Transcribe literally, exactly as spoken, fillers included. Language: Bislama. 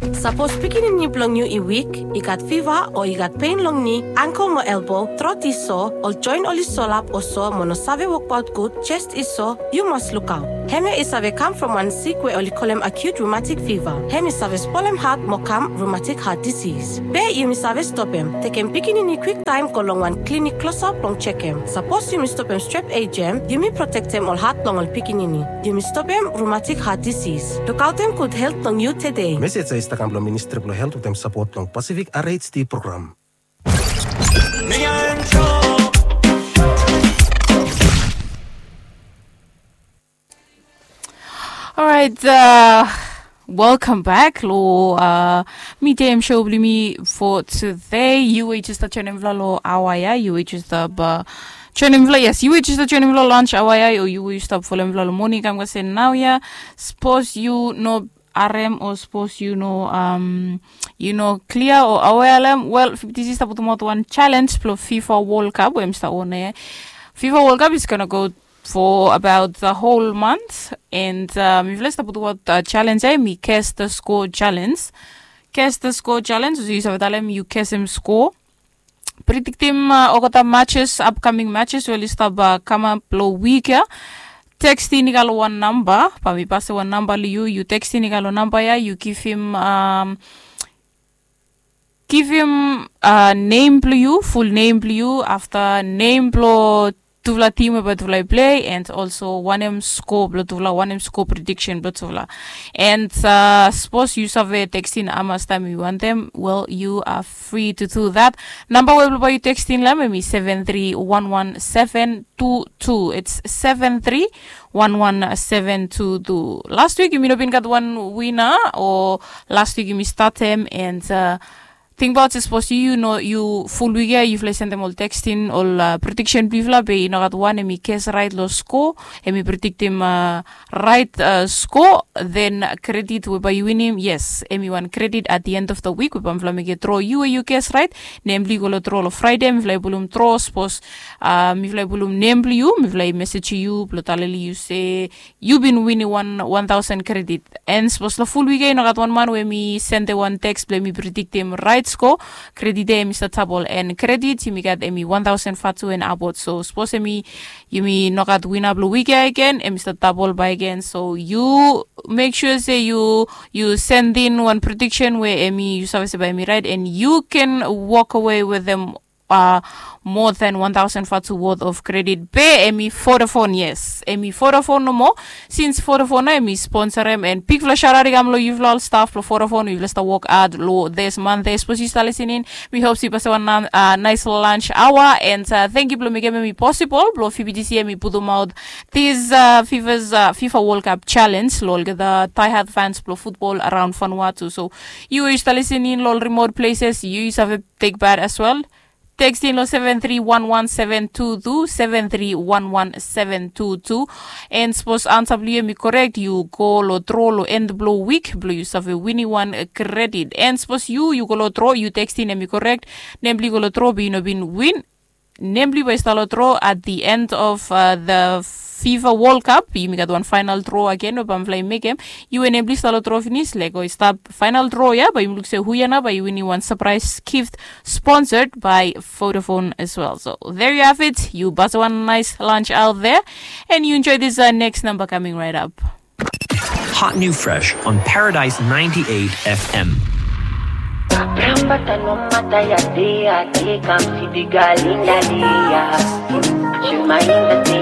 Sapos pikinini blong yu i wik, i gat fiva o i gat pen long ni, angkel mo elbo, trot i so, ol joen oli solap o so mo no save wokbaot gud, jes i so, yu mas lukaot. Hemia i save kam from wan sik we oli kolem acute rheumatic fever. Hem i save spolem hat mo kam rheumatic heart disease. Be yumi save stopem, tekem pikinini kwiktaem go long wan klinik klosap blong jekem. Sapos yumi stopem strep A J M, yumi protektem ol hat blong ol pikinini. Yumi stopem rheumatic heart disease. Lukaotem gud helt blong yu tede. Mesej ya i stap kam blong Ministri blong Helt wetem sapot blong Pacific R H D program. Alright, uh, welcome back lo uh, Midday Show blong yumi for today. Yu we jes stap joenem mifala lo aoa ya, yu we jes stap uh, joenem mifala, yes, yu we jes stap joenem mifala lo lunch aoa ya, o yu we jes stap folem mifala lo moning kam kasem naoia. Sapos yu no harem o sapos yu no um, yu no klia o awea long hem, wel, F B T C i stap putumaot wan challenge blo FIFA World Cup we hemi stap on ya. FIFA World Cup is gonna go for about the whole month, and uh, mifala i stap putumaot uh, challenge ya, hemi Guess the Score Challenge. Guess the Score Challenge, so yu save talem yu guessem score, prediktim uh, olgeta matches, upcoming matches we oli stap uh, kamap lo wik ya. Tekstin i go lo wan namba, bae mi pasem wan namba lo yu, yu tekstin i go lo namba ya, yu givim um, givim uh, nem blo yu, ful nem blo yu, afta nem blo tufala tim we bae tufala i plei, and also wanem score blo tufala, wanem score prediction blo tufala. And uh, sapos yu save tekstin hamas taem yu wantem, well, you are free to do that. Namba we blo bae yu tekstin lo hem hemi seven three one one seven two two. It's seven three one one seven two two. Last wik yumi no bin gat wan wina, o last wik yumi statem, and uh, tingbaot se sapos yu, yu no, yu ful wik ya yufala i sendem ol tekstin, ol uh, prediksen blo yufala, be i no gat wan hemi ges raet lo score, hemi prediktim uh, raet uh, score, then kredit we bae yu winim, yes, hemi wan kredit at the end of the week we bae mifala mekem dro, yu we yu ges raet, nem blo yu i go lo dro lo Fraede, mifala i pulum dro, sapos uh, mifala i pulum nem blo yu, mifala i mesej yu blo talem lo yu se yu bin winim wan, wan taosen kredit. And sapos lo ful wik ya i no gat wan man we hemi sendem wan teks blo hemi prediktim raet score, kredit ya hemi stap dabol, and kredit yumi gat hemi wan taosen vatu and upward. So sapos hemi, yumi no gat wina blo wik ya agen, hemi stap dabol bakegen. So yu mek sua se yu, yu sendin wan prediksen we hemi, yu save se bae hemi raet, and yu ken walk away wetem uh, more than one thousand vatu worth of kredit. Be hemi Vodafone, yes, hemi Vodafone nomo. Since Vodafone nao hemi sponsorem, and bigfala shout out i kam lo yufala ol staf blo Vodafone, yufala stap wok had lo this month. Sapos yu stap lisening, mi hop se yu pasem wan uh, nice lunch hour, and uh, tangkiu blo mekem hemi possible blo V B T C hemi putumaot this uh, FIFA's uh, FIFA World Cup challenge lo olgeta diehard fans blo futbol araon Vanuatu. So yu we yu stap lisening lo ol remote places, yu save tek pat as well. Tekstin lo seven three one one seven two two, seven three one one seven two two. And sapos ansa blo yu hemi korek, yu go lo dro lo en blo wik blo yu save winim wan kredit. And sapos yu, yu go lo dro, yu tekstin hemi korek, nem blo yu i go lo dro be yu no bin win, nem blo yu bae i stap lo dro at the end of uh, the FIFA World Cup. Yumi gat wan final draw agen we bae mifala i mekem. Yu we nem blo yu i stap lo dro finis, lego i stap final draw ya, bae yumi luk se hu ya nao bae i winim wan surprise gift sponsored by Vodafone as well. So there you have it. Yu pasem wan nice lunch out there, and you enjoy this uh, next number coming right up. Hot new fresh on Paradise ninety-eight F M. Rambata no mata ya de ya de kam si di galinda de ya. Shema inda de